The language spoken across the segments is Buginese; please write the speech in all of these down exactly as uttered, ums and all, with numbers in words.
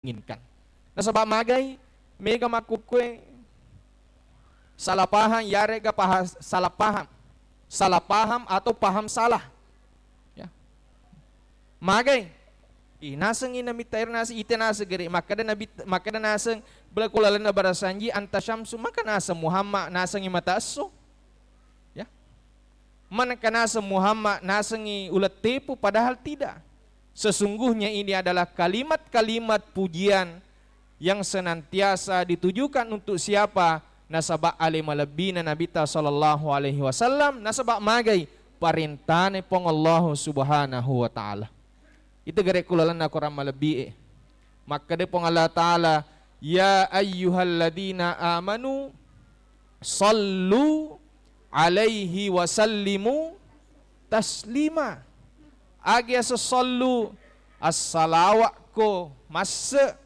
inginkan. Nasaba magai mega makkukkue salah paham, yarega paha-, salah paham, salah paham atau paham salah. Ya. Magai. Ih, nasengngi Nabitta ero naseng, ite naseng gere. Makkeda Nabi, makkeda naseng bela ku lalenna barasanji, anta syamsu, maka naseng Muhammad, nasengngi mata esso. Ya. Manengka naseng Muhammad, nasengngi uleng tepu, padahal tidak. Sesungguhnya ini adalah kalimat-kalimat pujian yang senantiasa ditujukan untuk siapa? Nasaba ale malebbina Nabitta sallallahu alaihi wasallam, nasaba magai parentana Puang Allahu Subhanahu wa Ta'ala. Itu gare ku lalenna Quran malebbi e. Makkeda Puang Allah Ta'ala, "Ya ayyuhalladzina amanu sallu alaihi wa sallimu taslima." Agi asa sallu, assalawakko masse.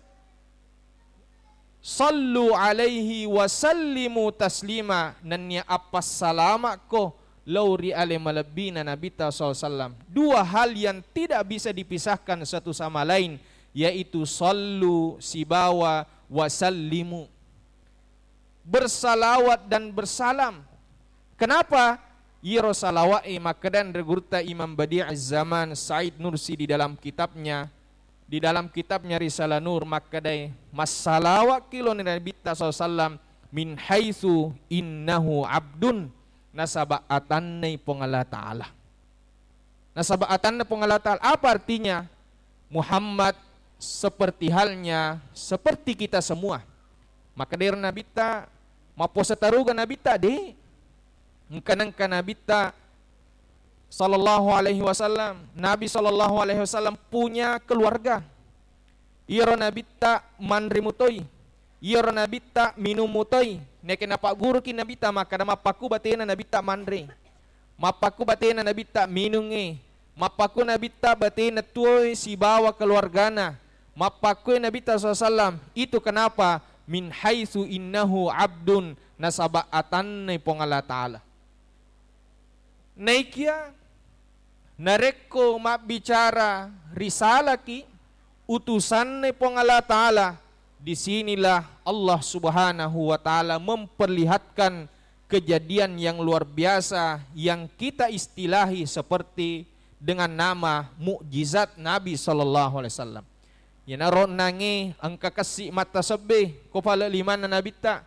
Sallu alaihi wa sallimu taslima, nennia appassalamakko lao ri ale malebbina Nabitta sallallahu alaihi wasallam. Dua hal yang tidak bisa dipisahkan satu sama lain, yaitu sallu sibawa wa sallimu. Bersalawat dan bersalam. Kenapa? Iyaro salawat e makkeda anre gurutta Imam Badi'iz Zaman Said Nursi di dalam kitabnya, di dalam kitabnya Risalah Nur makkedai, massalawakki lao ri Nabitta sallallahu alaihi wasallam min haitsu innahu abdun, nasaba atannai Puang Allah Ta'ala. Nasaba atanna Puang Allah Ta'ala. Apa artinya? Muhammad seperti halnya seperti kita semua. Makkedai ro Nabitta, mappuasa taruga Nabitta? De. Engka nengka Nabitta sallallahu alaihi wasallam. Nabi sallallahu alaihi wasallam punya keluarga. Iyaro Nabitta manre mutoi. Iyaro Nabitta minung mutoi. Nekke napagguruki Nabitta makkeda, mappakku batena Nabitta manre. Mappakku batena Nabitta minungnge. Mappakku Nabitta batena tuoe sibawa keluargana. Mappakku Nabitta sallallahu alaihi wasallam. Itu kenapa? Min haitsu innahu abdun, nasaba atannai Puang Allah Ta'ala. Naikia narekko mabbicara risalaki utusanna Puang Allah Ta'ala, di sinilah Allah Subhanahu wa Ta'ala memperlihatkan kejadian yang luar biasa yang kita istilahi seperti dengan nama mukjizat Nabi sallallahu alaihi wasallam. Iyanaro onnangnge engka kessi mattasebbe ko pale limanna Nabitta.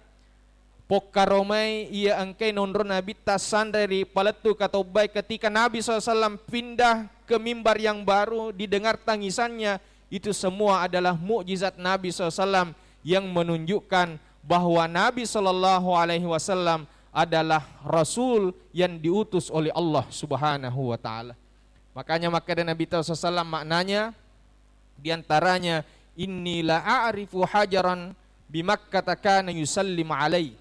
Pokkaromai iya engkai nonro Nabitta sanre ri palettu katobbae ketika Nabi sallallahu alaihi wasallam pindah ke mimbar yang baru, didengar tangisannya, itu semua adalah mukjizat Nabi sallallahu alaihi wasallam yang menunjukkan bahwa Nabi sallallahu alaihi wasallam adalah rasul yang diutus oleh Allah Subhanahu wa Ta'ala. Makanya makkeda Nabitta sallallahu alaihi wasallam maknanya, di antaranya, "Inni la a'rifu hajaran bi Makkata kana yusallimu alai."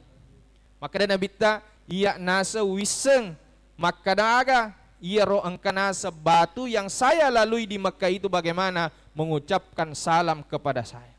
Makkeda Nabitta, "Iya naseng wisseng makkeda aga iyaro engka naseng batu yang saya lalui di Mekah itu bagaimana mengucapkan salam kepada saya."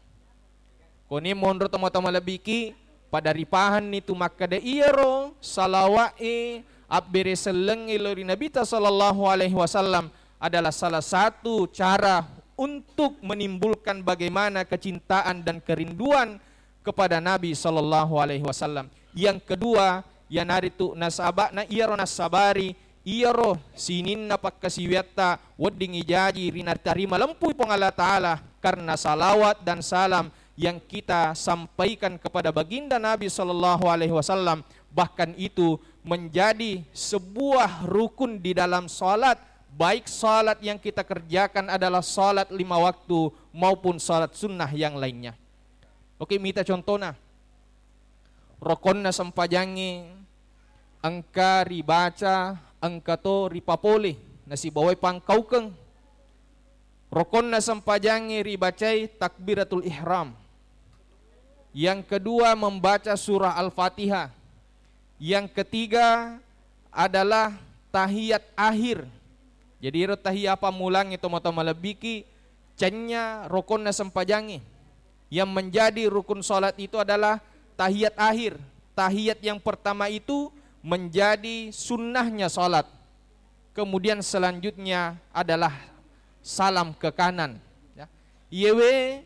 Koni monro tomatoa malebbiki, pada ripahanni tu makkeda iyaro salawa'e abbere sellengnge lao ri Nabitta sallallahu alaihi wasallam adalah salah satu cara untuk menimbulkan bagaimana kecintaan dan kerinduan kepada Nabi sallallahu alaihi wasallam. Yang kedua, iyanaritu nasaba'na iyaro nassabari iyaro sininna pakkasiwiatta wedding ijaji ri natarima lempui Puang Allah Ta'ala karena salawat dan salam yang kita sampaikan kepada baginda Nabi sallallahu alaihi wasallam, bahkan itu menjadi sebuah rukun di dalam salat, baik salat yang kita kerjakan adalah salat lima waktu maupun salat sunnah yang lainnya. Oke, mita contohna. Rokonna sempajangnge engka ribaca, engka to ripapole, nasibawai pangkaukeng. Rokonna sempajangnge ribacai takbiratul ihram. Yang kedua, membaca surah Al-Fatihah. Yang ketiga adalah tahiyat akhir. Jadi, ero tahiyat pammulangnge tomatoa malebbiki, cennya rokonna sempajangnge. Yang menjadi rukun salat itu adalah tahiyat akhir. Tahiyat yang pertama itu menjadi sunnahnya salat. Kemudian selanjutnya adalah salam ke kanan. Ya. Iyewe